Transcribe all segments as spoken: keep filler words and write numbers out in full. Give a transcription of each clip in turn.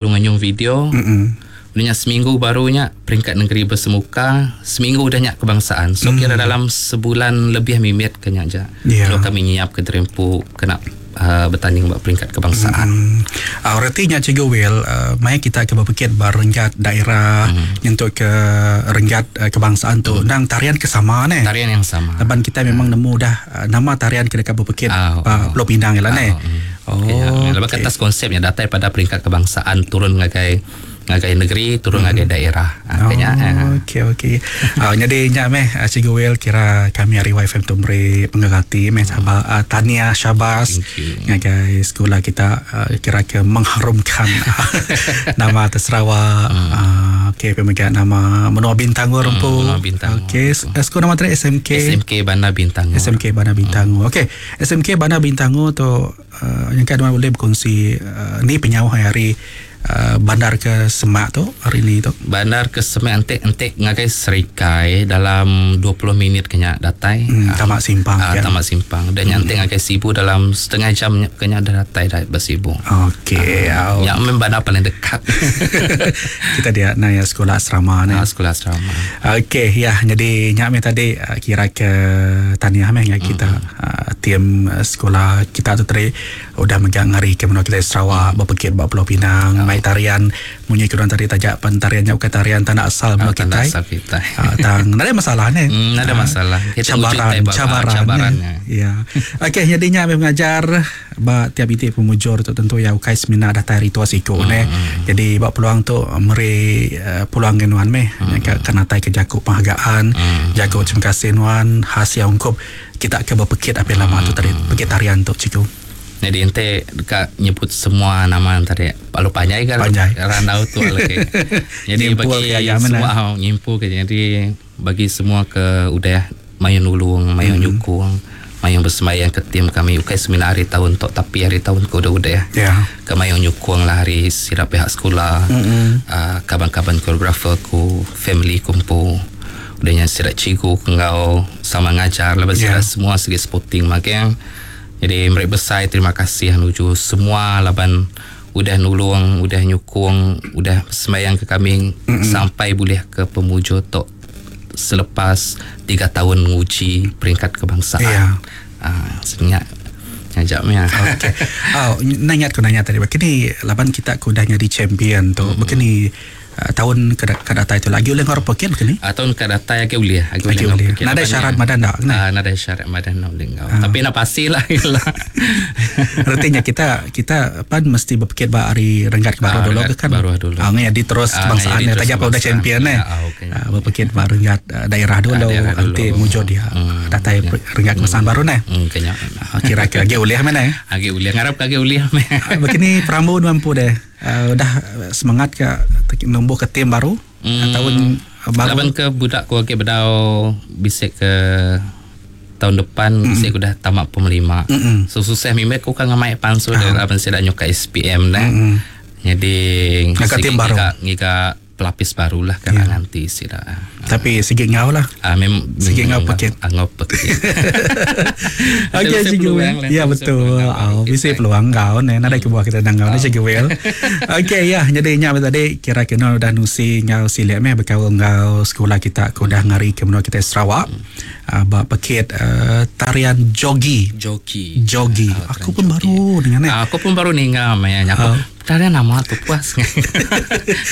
Nganyung video. Mm-mm. Udahnya seminggu barunya peringkat negeri bersemuka, seminggu udahnya kebangsaan. So mm. kira dalam sebulan lebih mimit kena aja. Yeah. Lalu kami nyiap ke Derempu kena uh, bertanding buat peringkat kebangsaan. Mm. Uh, retinya Cikgu Will, uh, mai kita ke berpikir bar renggat daerah mm. nyentuk ke renggat uh, kebangsaan tu mm. nang tarian kesama ne. Tarian yang sama. Laban kita memang nemu dah uh, nama tarian kena ke berpikir Ah, uh, oh. Pulau Pinang lah ne. Ah, mm. Oh. Okay, ya. Lepas atas konsepnya datang pada peringkat kebangsaan turun ngagai ngagai negeri turun ngagai daerah. Ah, Oh, kayaknya eh. okey okey. Ah, jadi nya meh ah, Cikgu Will kira kami hari Y F M tu beri pengganti meh sahabat uh, Tania Syabas Thank you. ngagai sekolah kita uh, kira ke mengharumkan nama atas Sarawak. Hmm. Uh, okey pemegang nama Menua Bintangor Hmm, empu. Menua Bintangor. Okey, sekolah nama tadi S M K. S M K Bandar Bintangor. S M K Bandar Bintangor. Okey, S M K Bandar Bintangor tu uh, yang kan boleh berkongsi uh, ni penyauh hari Uh, bandar ke Semak tu hari ni tu. Bandar ke Semak entek entek ngagai Serikai dalam dua puluh minit kena datai. Hmm, Ah, tamak simpang ah, kan. Tamak simpang. Dan hmm. entek ngagai Sibu dalam setengah jam kena dah datai dah bersibu. Okey. Ah, Oh. yang memang bandar paling dekat. Kita dia naya sekolah asrama ni. Ah, sekolah asrama. Okey, ya jadi nyak me tadi uh, kira ke tahniah meh dengan kita Hmm. uh, tim uh, sekolah kita tu tadi udah megang hari ke menua kita Sarawak berpekit bak Pulau Pinang Oh. mai tarian munyi kurang tadi tajak pentariannya bukan tarian tanah asal menua Ah, tanah kita. asal kita. Ah, tang ada masalah ni. Hmm, ada masalah. Kita Cabaran, wujud tembak, cabaran. cabarannya. Ya. Okey, jadinya kami mengajar ba tiap itik pemujur tu tentu ya ukai semina dah tari tua siku Hmm. ne. Jadi ba peluang tu meri uh, peluang ngenuan meh hmm. ke kena tai ke jaku penghargaan, Hmm. jago terima kasih nuan hasil ungkup kita ke berpekit apa lama tu tadi pekit tarian tu cikgu. Jadi ente dekat nyebut semua nama tadi. Palu panjai kan? Panjai. Randau tu lagi. Jadi Nyimpul bagi ke ayam semua mana? oh, nyimpul ke. Jadi bagi semua ke udah mayun nulung, mayun Hmm. nyukung, mayun bersemayang ke tim kami. Ukai semina hari tahun tok tapi hari tahun ke udah-udah. Ya. Ke mayun nyukung lah hari sirap pihak sekolah. Mm-mm. Uh, kaban-kaban koreografer ku, family kumpul. Udahnya sirat cikgu kengau sama ngajar lepas Ya. yeah. semua segi sporting magang. Jadi mereka besar terima kasih menuju semua laban udah nulung, udah nyukung, udah sembahyang ke kami mm-hmm. sampai boleh ke pemuju tok selepas tiga tahun menguji peringkat kebangsaan. Ya. Ah, sebenarnya ngajaknya. Okey. Oh, nanya aku nanya tadi. Begini laban kita ku dah jadi champion tu. Mm-hmm. Begini uh, tahun ke ke data itu lagi oleh ngor pekit begini. Atau ke data yang boleh, Lagi boleh. Nada syarat madan tak? Ah, nada syarat madan nak boleh ngau. Tapi nak pastilah lah. Artinya kita kita pan mesti berpikir bah hari renggat ke baru Ah, dulu renggat ke kan. baru dulu. Ah, jadi terus Ah, kebangsaan jadi ya terus tajak udah kebangsaan. champion eh. Ya, ah, okey. Ah, berpikir bah renggat ah, daerah dulu Ah, daerah dulu. nanti muncul dia Hmm, datai ya. renggat kebangsaan baru nah. Hmm, kayaknya. Ah, kira kira lagi boleh mana eh. Agi uliah ngarap kagi uliah meh. Ah, Begini Perambu mampu deh. Uh, udah semangat ke numbuh ke tim baru Hmm. tahun baru. Laban ke budak ku agi bedau bisik ke tahun depan mm. bisik udah tamat pemelima. Mm-mm. So susah mimek ku kan ngamai pansu uh. laban sida nyuka S P M dah. Mm-mm. Jadi Ngaka tim baru. ngiga, ngiga pelapis barulah kan yeah. nanti sida. Tapi sikit ngau lah. Ah mem Sikit ngau pekit. Ah, ngau pekit. Okey Cikgu Will. Ya betul. Oh, bisa peluang kau ni. Nada ke buah kita nang kau ni Cikgu Will. Okey ya, jadi nya tadi kira kena udah nusi ngau silip meh bekau ngau sekolah kita ku dah ngari ke menua kita Sarawak. Uh, bak pekit uh, tarian jogi. Joki. Jogi. Ah, Aku pun tarian jogi. baru dengan ni. Ah, aku pun baru ninga maya aku. Ah. Tarian nama tu puas.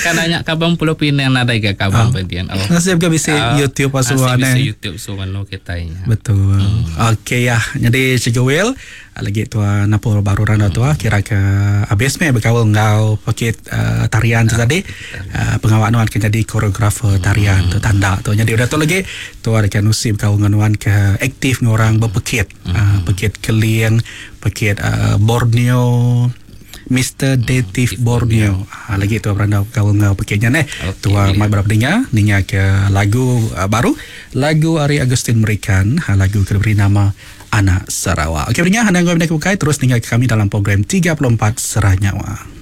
Kan nanya kabang Pulau Pinang ada ke kabang uh. Oh. Nasib ke bisa Ah, YouTube apa semua nasib bisa ni. YouTube semua no kita nya. Betul. Hmm. Okey ya. Jadi Cikgu Will lagi tua napur baru randa tua kira ke habis me berkawal ngau paket uh, tarian tu tadi uh, pengawak nuan ke jadi koreografer tarian tu tanda tu. Jadi udah tu lagi tua dekat nusi berkawal dengan nuan ke aktif dengan orang berpekit. Uh, pekit Keling, pekit uh, Borneo Mister Dative Borneo. Ha, lagi tu beranda kau ngau pekitnya neh. Okey, Tua boleh. mai berapa dengar ninga ke lagu uh, baru lagu Ari Agustin Merikan ha, lagu ke beri nama Anak Sarawak. Okey pendengar, anda ngau bukai terus ninga ke kami dalam program tiga puluh empat Serah Nyawa.